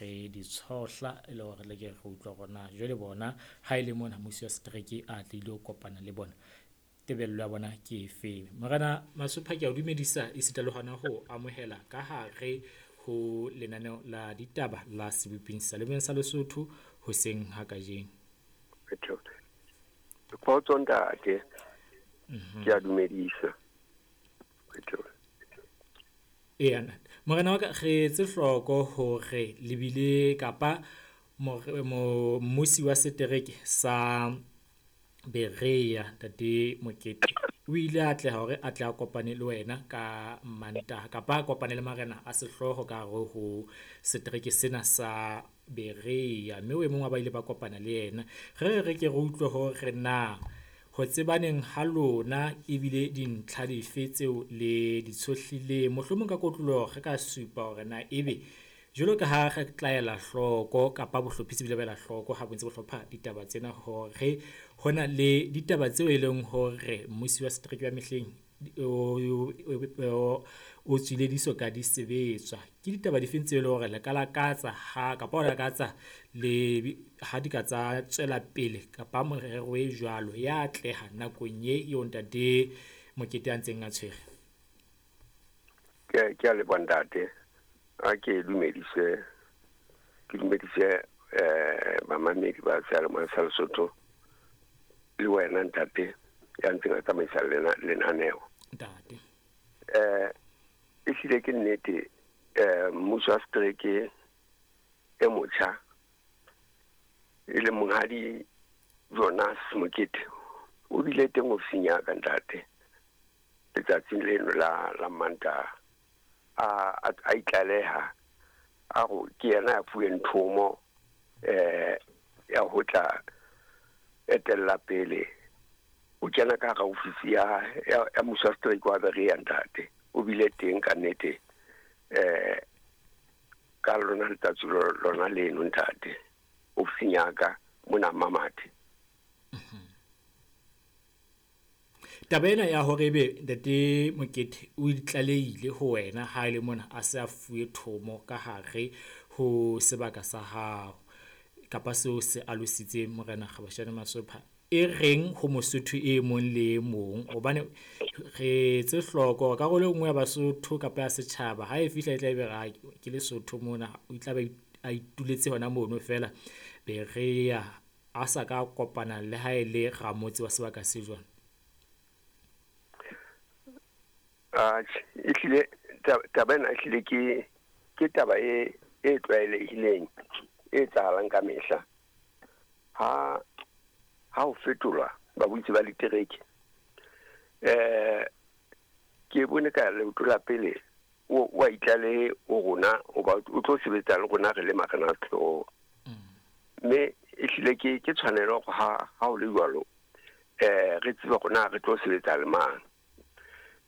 re di tshohla e le hore re leke re utlwe hore na jwale bona ha e le mona mmusi wa setereke a tlile ho kopana le bona, tebello ya bona ke efeng. Morena Masopha, ke a o dumedisa esita le hona ho amohela ka hare ho lenaneo la ditaba la Seboping Seyalemoyeng sa Lesotho hoseng ha kajeno. Kgotso ntate, ke a dumedisa. Eya, morena wa ka, re etse hloko hore le bile kapa mmusi wa setereke sa Berea, Ntate Mokete, o ile a atleha hore a tle a kopane le wena ka Mantaha kapa a kopane le marena a sehlooho ka hare ho setereke sena sa Berea, mme o e mong wa ba ile ba kopana le yena. Re re ke re utlwe hore na ho tsebaneng ha lona ebile dintlha dife tseo le di tshohlileng, mohlomong ka kotloloho re ka supa hore na ebe jwalo ka ha re tla ela hloko kapa bohlophisi bile ba ela hloko ha bo ntse bo hlopha ditaba tsena hore hona le ditaba tseo e leng hore mmusi wa setereke wa mehleng o tswile di so ka di sebetswa. Ke ditaba difeng tseo e leng hore le ka lakatsa ha kapa o lakatsa le ha di ka tsa tswela pele kapa morero e jwalo ya atleha nakong ye eo Ntate Mokete a ntseng a tshwere? Ke a leboha ntate. A ke dumedise, ke dumedise bamamedi ba seyalemoya sa Lesotho le wena ntate ya ntseng a tsamaisa lenaneo. Ntate. Ehlile ke nnete, mmuso wa setereke e motjha e le monghadi Jonas Mokete o bile teng ofising ya ka ntate letsatsing leno la Mantaha. A itlaleha a go ke yena ya fuweng thomo ya ho tla etella pele o kena ka hara ofisi ya mmuso wa setereke wa Berea ntate. O bile teng ka nnete ka lona letsatsi lona leno ntate ofising ya ka mona Mamathe. Taba ena ya hore ebe Ntate Mokete o itlalehile ho wena ha e le mona a se a fuwe thomo ka hare ho sebaka sa hao kapa seo se alositseng Morena Kgabashane Masopha, e reng ho Mosotho e mong le e mong? Hobane re etse hloko hore karolo e nngwe ya Basotho kapa ya setjhaba ha e fihla e tla ebe re ke Lesotho mona, o tla be a ituletse hona mono feela Berea a sa ka kopana le ha e le ramotse wa sebaka se jwang. Ehlile taba ena ehlile ke taba e tlwaelehileng e etsahalang ka mehla. Ha ho fetolwa babusi ba ditereke, ke bone ka leoto la pele o a itlalehe ho rona hoba o tlo sebetsa le rona re le marena a sehlooho. Mme ehlile ke tshwanelo hore ha ho le jwalo, re tsebe hore na re tlo sebetsa le mang.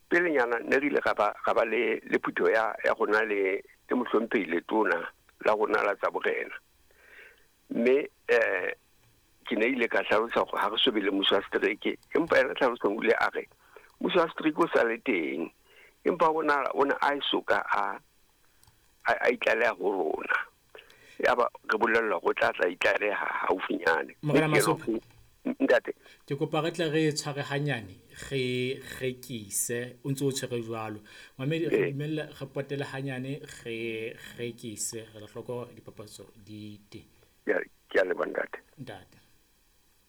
Pelenyana ne re ile ra ba le phutheho ya rona le mohlomphehi letona la rona la tsa borena. Mme ke ne ile ka hlalosa hore ha re so be le mmuso wa setereke, empa yena tlhalosong o ile a re mmuso wa setereke o sa le teng, empa ona a e soka a itlaleha ho rona. Yaba re bolellwa hore o tla tla itlaleha haufinyane. Morena Masopha, ntate, ke kopa re tle re tshware hanyane, re rekise o ntse o tshwere jwalo. Mamedi, re dumelle re potele hanyane, re rekise, re la hloko dipapatso di teng.